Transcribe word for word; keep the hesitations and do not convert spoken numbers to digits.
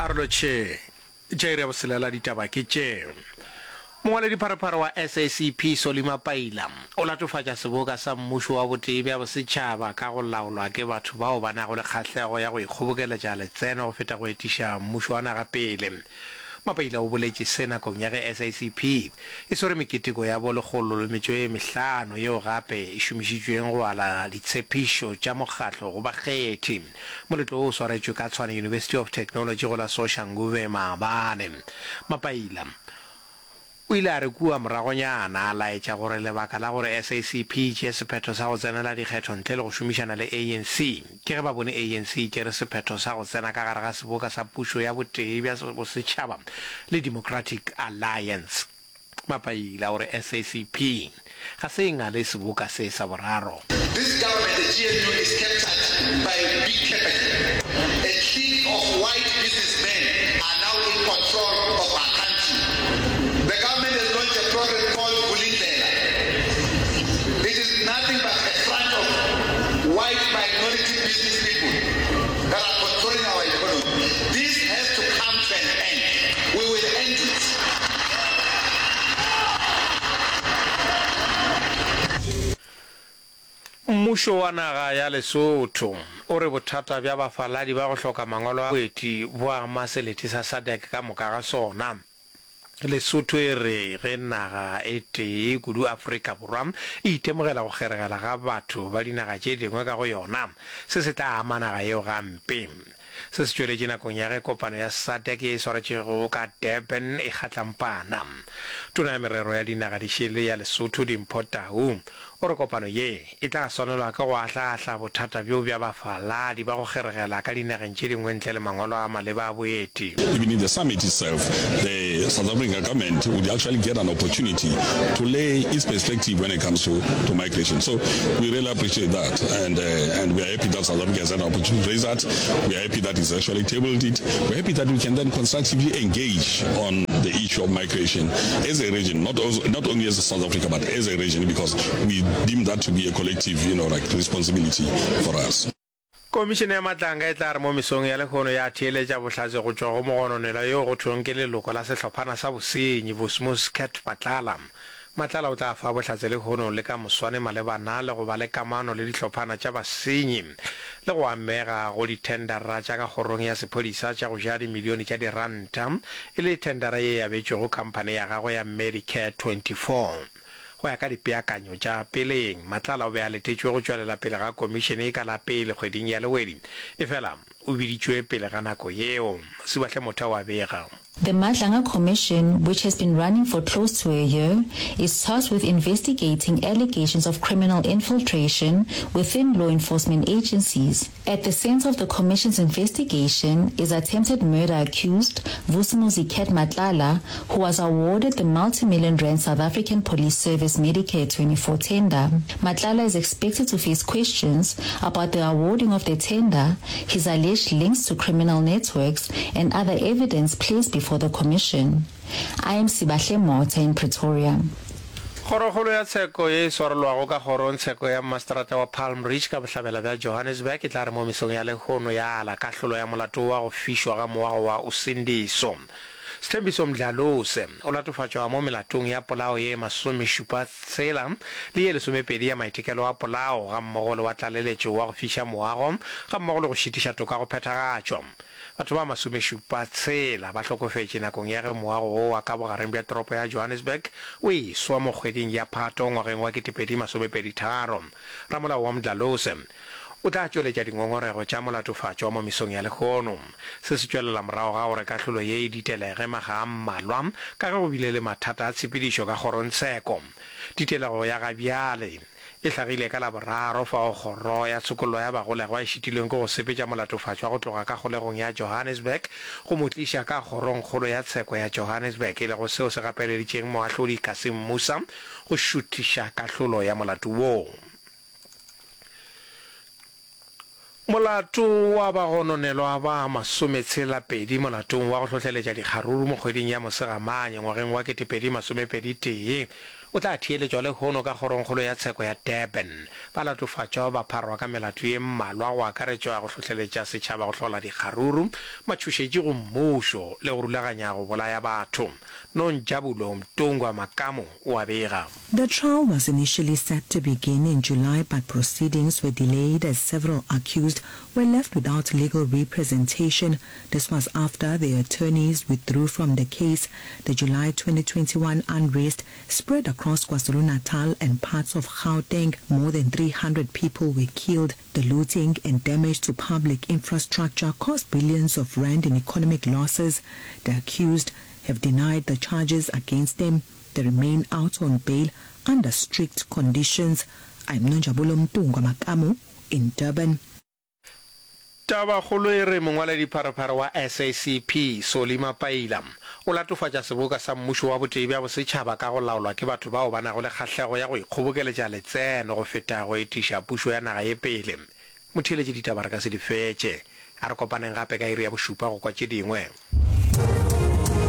A re lotšhe. Tša iri ya boselela ditaba ke tše. Mongwaledipharephare wa SACP Solly Mapaila o latofatša seboka sa mmušo wa botee bja bosetšhaba ka go laolwa ke batho bao ba nago le kgahlego ya go ikgobokeletša letseno go feta go etiša mmušo wa naga pele. Mapaila o boletše se nakong ya ge SACP e swere meketeko ya bo lekgolo le metšo e mehlano yeo gape e šomišitšweng go ala ditshepišo tša mokgatlo go bakgethi. Moletlo wo o swaretšwe ka Tshwane University of Technology go la Soshanguve maabane. Mapaila o ile a re kua moragonyana a laetša gore lebaka la gore SACP e tšee sephetho sa go tsenela dikgetho ntle le go šomišana le ANC ke ge ba bone ANC e tšere sephetho sa go tsena ka gare ga seboka sa pušo ya botee bja bosetšhaba le Democratic Alliance. Mapaila o re SACP ga se e ngale seboka se sa boraro. This government, the GNU, is captured by big capital. A clique of white businessmen are now in control of our country. The government has launched a program called Vulindlela. It is nothing but a front of white minority business people that are controlling our economy. This has to come to an end. We will end it. Mmušo wa naga ya Lesotho o re bothata bja bafaladi ba go hloka mangwalo a boeti bo ama selete sa SADC ka moka ga sona. Lesotho e re ge naga e tee, kudu Afrika Borwa, e itemogela go kgeregela ga batho ba dinaga tše dingwe ka go yona, se se tla ama naga yeo gampe. Se se tšweletše nakong ya ge kopano ya SADC ye e swaretšwego ka Durban e kgatlampana. Tona ya Merero ya Dinaga Dišele ya Lesotho, Dimpho Tau, o re kopano ye e tla swanelwa ke go ahlaahla bothata bjo bja bafaladi ba go kgeregela ka dinageng tše dingwe ntle le mangwalo a maleba a boeti. Even in the summit itself, the South African government would actually get an opportunity to lay its perspective when it comes to, to migration. So we really appreciate that, and, uh, and we are happy that South Africa has had an opportunity to raise that. We are happy that it's actually tabled it. We're happy that we can then constructively engage on the issue of migration as a region, not, also, not only as South Africa, but as a region, because we deem that to be a collective, you know, like responsibility for us. Komišene ya Matlanga e tla re mo mesong ya lehono ya theeletša bohlatse go tšwa go mogononelwa yo go thweng ke leloko la sehlophana sa bosenyi, Vosmos Cat Matlala. Matlala o tla fa bohlatse lehono le ka moswane malebana le go ba le kamano le dihlophana tša basenyi le go amega go dithendara tša ka kgorong ya sephodisa tša go ja dimilione tša diranta e le thendara ye e abetšwego khamphane ya gagwe ya Medicare twenty four. Go ya ka dipeakanyo tša peleng, Matlala o be a letetšwe go tšwelela pele ga komišene ka la pele kgweding ya Lewedi, efela o biditšwe pele ga nako yeo. Sibahle Motha o a bega. The Madlanga Commission, which has been running for close to a year, is tasked with investigating allegations of criminal infiltration within law enforcement agencies. At the center of the commission's investigation is attempted murder accused Vusimuzi Cat Matlala, who was awarded the multi-million rand South African Police Service Medicare twenty-four tender. Matlala is expected to face questions about the awarding of the tender, his alleged links to criminal networks, and other evidence placed before the commission. I am Sibahle Motha in Pretoria. Kgorokgolo ya tsheko ye e swarelwago ka kgorongtsheko ya mmaseterata wa Palm Ridge ka bohlabela bja Johannesburg e tla re mo mesong ya lehono ya ala kahlolo ya molato wa go fišwa ga moago wa Usindiso. Sthembiso Mdlalose o latofatšwa mo melatong ya polao ye masomešupa tshela le ye lesomepedi ya maitekelo a polao gammogo le wa tlaleletšo wa go fiša moago gammogo le go šitiša toka go phethagatšwa. Batho ba masomešupa tshela ba hlokofetše nakong ya ge moago wo wa ka bogareng bja toropo ya Johannesburg o eswa mo kgweding ya Phato ngwageng wa ketepedi masomepedi tharo. Ramolao wa Mdlalose o tla tšweletša dingongorego tša molatofatšwa mo mesong ya lehono. Se se tšwelela morago ga gore kahlolo ye e ditelege makga a mmalwa ka ge go bile le mathata a tshepedišo ka kgorongtsheko. Ditelego ya gabjale e hlagile ka Laboraro fao kgoro ya tshokollo ya bagolegwa e šitilweng ke go sepetša molatofatšwa go tloga ka kgolegong ya Johannesburg go mo tliša ka kgorongkgolo ya tsheko ya Johannesburg, e lego seo se gapeleditšeng moahlodi Cassim Moosa go šuthiša kahlolo ya molato woo. Molato wa bagononelwa ba masometshela pedi molatong wa go hlohleletša dikgaruru mo kgweding ya Mosegamanye ngwageng wa ketepedi masomepedi tee o tla theeletšwa lehono ka Kgorongkgolo ya Tsheko ya Durban. Balatofatšwa ba pharwa ka melato ye mmalwa go akaretšwa go hlohleletša setšhaba go hlola dikgaruru, matšhošetši go mmušo le go rulaganya go bolaya batho. Nonjabulo Mtungwa Makamu o a bega. The trial was initially set to begin in July but proceedings were delayed as several accused were left without legal representation. This was after the attorneys withdrew from the case. The July twenty twenty-one unrest spread across KwaZulu-Natal and parts of Gauteng. More than three hundred people were killed. The looting and damage to public infrastructure caused billions of rand in economic losses. The accused have denied the charges against them. They remain out on bail under strict conditions. I'm Nonjabulo Mtungwa Makamu in Durban. Tabakgolo e re mongwaledipharephare wa S A C P, Solly Mapaila, o latofatša seboka sa mmušo wa botee bja bosetšhaba ka go laolwa ke batho bao ba nago le kgahlego ya go ikgobokeletša letseno go feta go etiša pušo ya naga ye pele. Motheeletši ditaba re ka se di fetše. A re kopaneng gape ka iri ya bošupa go kwa tše dingwe.